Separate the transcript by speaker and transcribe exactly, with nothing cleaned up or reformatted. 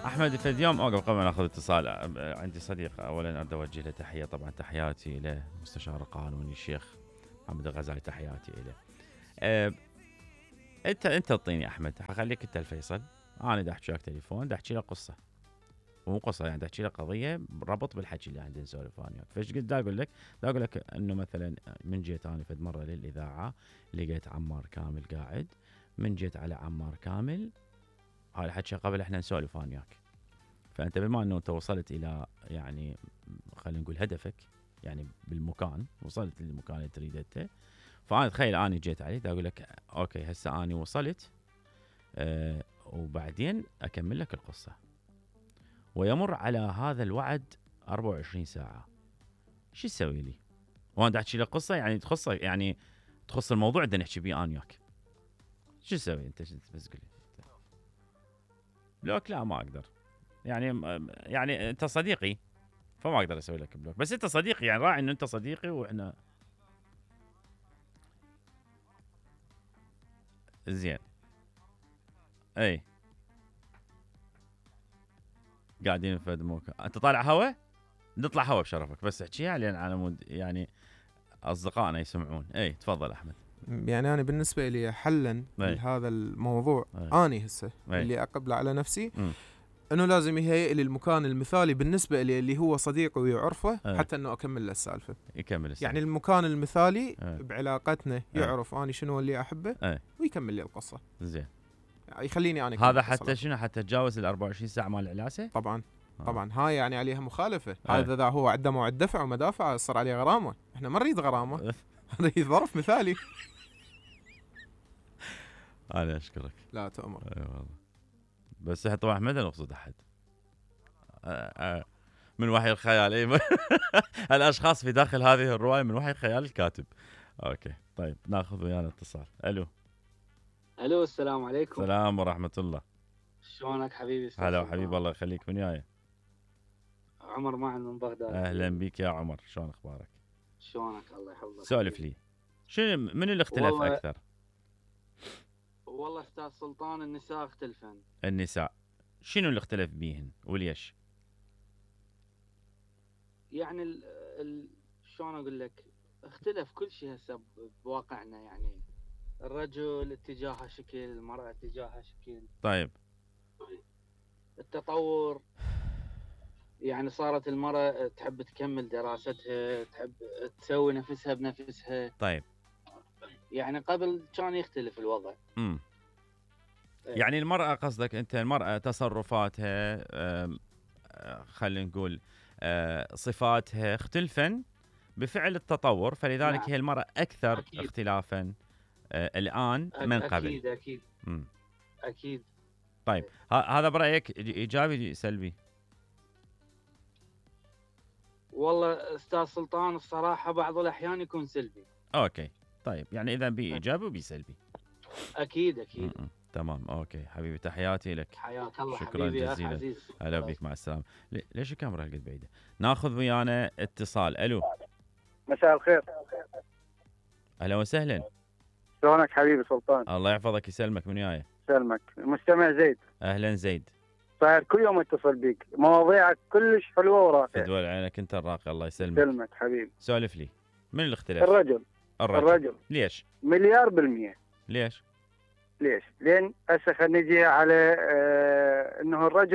Speaker 1: احمد فد يوم اوقف قبل ما ناخذ اتصال. عندي صديق اولا اريد اوجه له تحيه، طبعا تحياتي له مستشار القانوني الشيخ محمد الغزالي، تحياتي له. أه انت انت تعطيني احمد، حخليك انت الفيصل. انا دا احكي لك تليفون، دا احكي لك قصه، مو قصه يعني، دا احكي لك قضيه ربط بالحكي اللي عندنا نسولف انا وياك. فايش قلت دا اقول لك؟ دا اقول لك انه مثلا من جيت انا فد مره للاذاعه لقيت عمار كامل قاعد، من جيت على عمار كامل هاي الحكي قبل احنا نسولف انا وياك. فانت بما انه انت وصلت الى يعني خلينا نقول هدفك، يعني بالمكان وصلت للمكان اللي تريده انت، فانا تخيل اني جيت عليه دا اقول لك اوكي هسه اني وصلت، أه وبعدين اكمل لك القصه. ويمر على هذا الوعد أربعة وعشرين ساعه، شو تسوي لي؟ وانا دا احكي لك قصه يعني تخص يعني تخص الموضوع اللي نحكي بيه انا وياك. شو تسوي انت؟ بس قل لي. بلوك لا ما اقدر، يعني يعني انت صديقي فما اقدر اسوي لك بلوك، بس انت صديقي يعني راعي انه انت صديقي واحنا زين. اي قاعدين في موقع، انت طالع هوا؟ نطلع هوا بشرفك، بس احكيها لان على مود يعني اصدقائنا يسمعون. اي تفضل احمد.
Speaker 2: يعني انا بالنسبه لي حلا لهذا الموضوع، أي. اني هسه أي. اللي اقبله على نفسي م. انه لازم يهيئ لي المكان المثالي بالنسبه لي اللي هو صديقي ويعرفه، أي. حتى انه اكمل له السالفه.
Speaker 1: يكمل السالفه
Speaker 2: يعني المكان المثالي أي. بعلاقتنا يعرف أي. اني شنو اللي احبه أي. ويكمل لي القصه.
Speaker 1: زين.
Speaker 2: يعني يخليني انا
Speaker 1: هذا حتى شنو؟ حتى تجاوز ال أربعة وعشرين ساعه مال العلاسه؟
Speaker 2: طبعا آه. طبعا هاي يعني عليها مخالفه. هذا اذا هو عنده موعد دفع ومدافع صار عليه غرامه، احنا ما نريد غرامه نريد ظرف مثالي.
Speaker 1: انا اشكرك.
Speaker 2: لا تؤمر.
Speaker 1: اي والله. بس طبعا ما نقصد احد من وحي الخيال. اي الاشخاص في داخل هذه الروايه من وحي الخيال الكاتب. اوكي طيب ناخذ ويانا اتصال. الو.
Speaker 3: الو السلام عليكم.
Speaker 1: السلام ورحمه الله.
Speaker 3: شلونك حبيبي؟
Speaker 1: هلا حبيب الله يخليك. من وياي؟
Speaker 3: عمر معن من بغداد.
Speaker 1: اهلا بك يا عمر، شلون اخبارك؟
Speaker 3: شلونك؟ الله يحفظك.
Speaker 1: سولف لي، شنو من اللي اختلف
Speaker 3: والله
Speaker 1: اكثر؟
Speaker 3: والله استاذ سلطان النساء اختلفن.
Speaker 1: النساء شنو اللي اختلف بيهن وليش؟
Speaker 3: يعني ال ال شلون اقول لك، اختلف كل شيء هسه بواقعنا. يعني الرجل اتجاهه شكل، المرأة اتجاهها شكل.
Speaker 1: طيب
Speaker 3: التطور يعني صارت المرأة تحب تكمل دراستها، تحب تسوي نفسها بنفسها.
Speaker 1: طيب
Speaker 3: يعني قبل كان يختلف الوضع.
Speaker 1: امم يعني المرأة قصدك انت المرأة تصرفاتها خلينا نقول صفاتها اختلفن بفعل التطور، فلذلك نعم. هي المرأة أكثر أكيد. اختلافا الآن من قبل.
Speaker 3: أكيد أكيد
Speaker 1: مم.
Speaker 3: أكيد.
Speaker 1: طيب هذا برأيك إيجابي سلبي؟
Speaker 3: والله أستاذ سلطان الصراحة بعض الأحيان يكون سلبي.
Speaker 1: أوكي طيب يعني إذا بي إيجابي وبي سلبي.
Speaker 3: أكيد أكيد.
Speaker 1: م -م. تمام أوكي حبيبي، تحياتي لك.
Speaker 3: حياك الله.
Speaker 1: شكرا
Speaker 3: حبيبي
Speaker 1: جزيلا. هلا بك، مع السلامة. ليش الكاميرا هالقد بعيدة؟ ناخذ ويانا اتصال. ألو.
Speaker 4: مساء الخير.
Speaker 1: أهلا وسهلا.
Speaker 4: شلونك حبيبي سلطان؟
Speaker 1: الله يحفظك يسلمك. من وياي؟
Speaker 4: يسلمك. المستمع زيد.
Speaker 1: أهلا زيد.
Speaker 4: صاير كل يوم اتصل بيك، مواضيعك كلش حلوة وراقية.
Speaker 1: تدول عينك أنت الراقي، الله يسلمك.
Speaker 4: يسلمك حبيبي.
Speaker 1: سولف لي، من الاختلاف؟
Speaker 4: الرجل.
Speaker 1: الرجل.
Speaker 4: الرجل.
Speaker 1: ليش؟
Speaker 4: مليار بالمية.
Speaker 1: ليش؟
Speaker 4: ليش؟ لأن هسه خلينا نجي على آه انه الرجل